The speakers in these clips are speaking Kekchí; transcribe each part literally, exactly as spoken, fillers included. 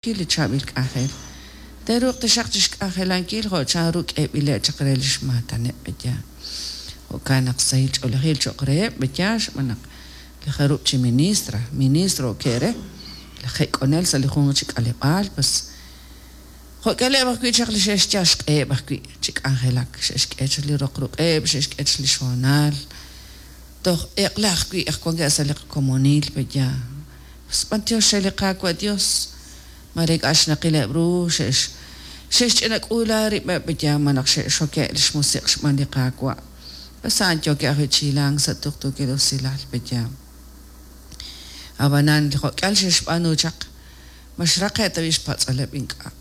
Li chaab'il k'anjel te'ruuq taxaq chixk'anjelankil jo' chanru k'eeb'ileb' chaq re lix maataneb' b'eya. Jo'kan naq sahil ch'oolejil cho'q reheb' b'eya, xb'aan naq li jarub' chi ministra, ministro ke're laj jek'onel sa' li junq chi k'aleb'aal, pues jo'k'eleb' ajwi' chaq li xe'xyal xq'eheb' ajwi' chi k'anjelak, xe'xk'e chaq li roq ruq'eb', xe'xk'e chaq li xhoonal, toj eq'la ajwi' aj wankeb' sa' li qakomonil b'eya. Pues b'antiox re li Qaawa' Dios, mare ink'a' xnaqileb' ru, xe'x xe'xch'ina k'uula rib'eb' b'eya, malaj xe'xoke' li xmusiq' xb'aan li Qaawa'. Pues a'an yookeb' ajwi' chi hilank sa' tuqtuukil usilal b'eya. Ab'anan li jo'k'ihal xe'xb'aanu chaq, ma xraqe' ta b'i' xpatz'aleb' ink'a'.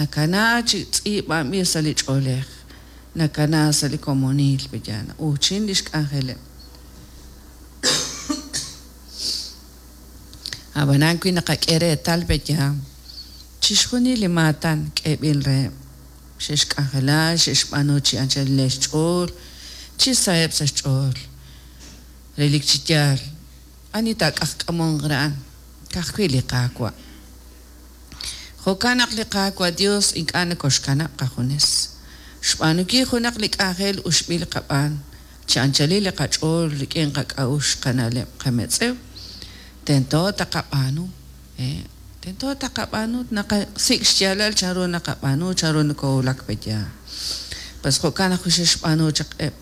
Nakana chi tz'iib'anb'il sa' li ch'oolej, nakana sa' li komonil b'eya, na'uuchin li xk'anjeleb'. Ab'anan wi naqak'e reetal b'eya, chixjunil li maatan k'eeb'il reheb', xe'xk'anjela, xe'xb'aanu chi anchalileb' xch'ool, chi saheb' sa' xch'ool. Relik chi yaal, ani taak'ajk'amonq re a'an, ka'ajwi' li Qaawa'. Jo'kan naq li Qaawa' Dios ink'a' nokoxkanab' qajunes. Xb'aanunkil junaq li k'anjel uxb'il qab'aan, chi anchalil li qach'ool rik'in qak'a'uxl, qana'leb', qametz'ew, tento taqab'aanu, eh, tento taqab'aanu, naqasik' xyaalal chanru naqab'aanu, chanru nokowulak b'eya. Pues jo'kan ajwi' xe'xb'aanu chaq eb'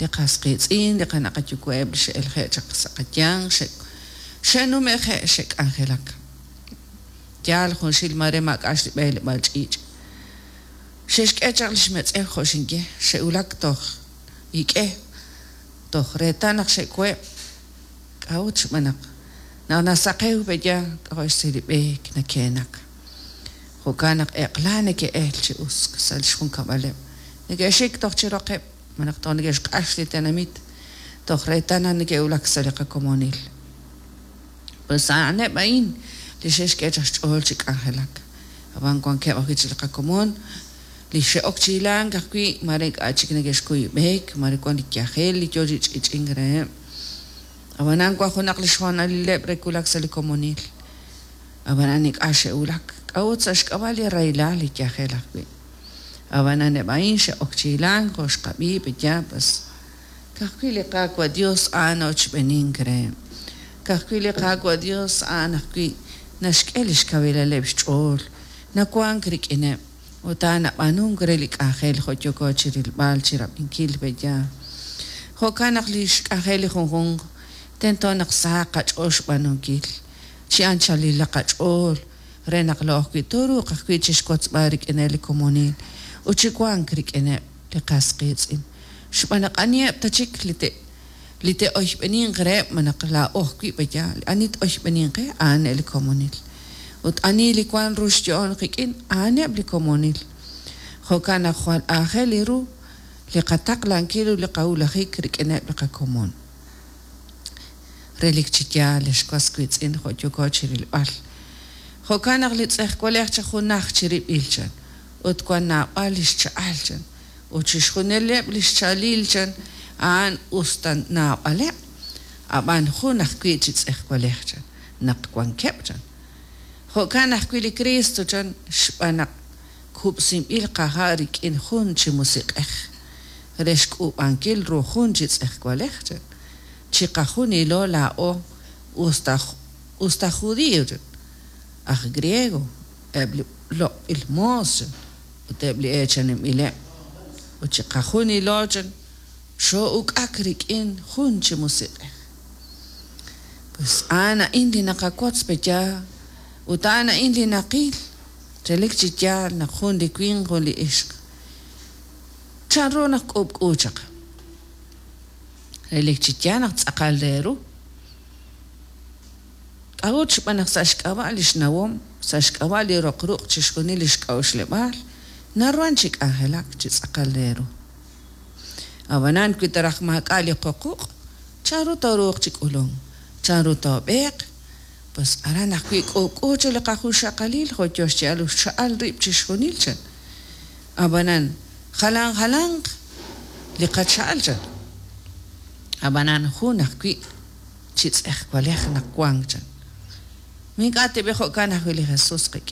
li qas qiitz'in, li qana' qayuwa'eb' li xe'elje' chaq sa' qayanq, xe' xe'nume'je' xe'k'anjelak. Yaal junxil mare maak'a' xb'eleb'aal ch'iich'. Xe'xk'e chaq li xmetz'ew jo' xinye, xe'wulak toj ik'e, toj reetal naq xe'koheb'. K'a'ut xb'aan naq naq nasaqew b'eya k'a'jo' xsi li b'eek nakeenak. Jo'kan naq eq'la neke'el chi us sa' li xjunkab'aleb'. Neke'xik toj chi roqeb', malaj toj neke'xq'ax li tenamit, toj reetal naq neke'wulak sa' li qakomonil. Pues a'aneb' a'in li xe'xk'e chaq xch'ool chi k'anjelak. Ab'an wankeb' ajwi' chi li qakomon, li xe'ok chi hilank ajwi' mare ink'a' chik neke'xkuy b'eek, mare wan li yajel li yoo chi ch'ich'ink reheb'. Ab'anan wan junaq li xhoonalileb' re wulak sa' li komonil. Ab'anan ink'a' xe'wulak, k'a'ut sa' xk'ab'a' li rahilal li yajel ajwi'. Ab'anan eb' a'in xe'ok chi hilank jo' xqab'i b'eya, pues ka'ajwi' li Qaawa' Dios a'an ochb'enink reheb'. Ka'ajwi' li Qaawa' Dios a'an ajwi' naxk'e li xkawilaleb' xch'ool, nawank rik'ineb', ut a'an nab'aanunk re li k'anjel jo' yooko chi rilb'al, chi rab'inkil b'eya. Jo'kan naq li xk'anjel li junjunq tento naq sahaq qach'ool xb'aanunkil, chi anchalilaq qach'ool re naq laa'o ajwi' tooruuq ajwi' chixwotzb'al rik'ineb' li komonil ut chi wank rik'ineb' li qas qiitz'in. Xb'aan naq aniheb' ta chik li te li te'oyb'eninq reheb' malaj laa'o ajwi' b'eya, ani t-oyb'eninq qe a'aneb' li komonil. Ut ani li wank ru xyo'on qik'in a'aneb' li komonil. Jo'kan naq jwal aajel li ru li qataqlankil ut li qawulajik rik'ineb' li qakomon. Relik chi yaal ex was wiitz'in jo' yooko chi rilb'al. Jo'kan naq li tz'ejwalej chi junaj chirib'il chan, ut wan naab'al li xcha'al chan, ut chixjunileb' li xcha'alil chan a'an us ta naab'aleb', ab'an jun ajwi' chi tz'ejwalej chan, naq wankeb' chan. Jo'kan ajwi' li Cristo chan, xb'aan naq kub'sinb'il qaha' rik'in jun chi musiq'ej, re xk'uub'ankil ru jun chi tz'ejwalej chan. Chiqajunilo laa'o us ta us ta judío chan, aj griego, eb' li loq'b'il moos chan, ut eb' li eechaninb'ileb'. Ut chiqajunilo chan xoo'uk'ak rik'in jun chi musiq'ej. Pues a'an a'in li naqawotz b'eya, ut a'an a'in li naqil, relik chi yaal naq jun li winq jun li ixq. Chanru naq k'uub'k'u chaq? Relik chi yaal naq tz'aqal re ru. K'a'ut xb'aan naq sa' xk'ab'a' li xnawom, sa' xk'ab'a' li roq ruq' chixjunil li xk'a'uxleb'aal, naruhan chi k'anjelak chi tz'aqal re ru. Ab'anan wi taraj maak'a' li qoquq', chanru tooruuq chi k'ulunk, chanru toob'eeq, pues aran ajwi' k'uub'k'u chi li qajunxaqalil jo' yo xya'al xcha'al rib' chixjunil chan. Ab'anan jalan jalanq li qacha'al chan. Ab'anan jun ajwi' chi tz'ejwalej naq wank chan. Ma ink'a' tab'i' jo'kan ajwi' li Jesus qik'in?